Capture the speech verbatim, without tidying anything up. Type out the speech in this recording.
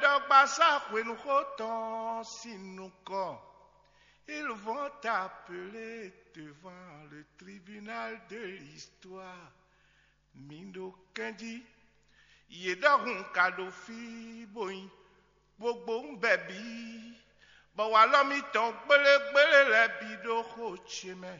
Ɖɔgbasá hwenuxó tɔn sín nukɔn. Ils vont t'appeler devant le tribunal de l'histoire. Mi ɖo kɛnjí. Yě ɖɔhun ka ɖo fí bó nyi gbogbo bɛbí, bɔ walɔ mitɔn gbélégbélé lɛ́ɛ bǐ ɖó xó ce mɛ.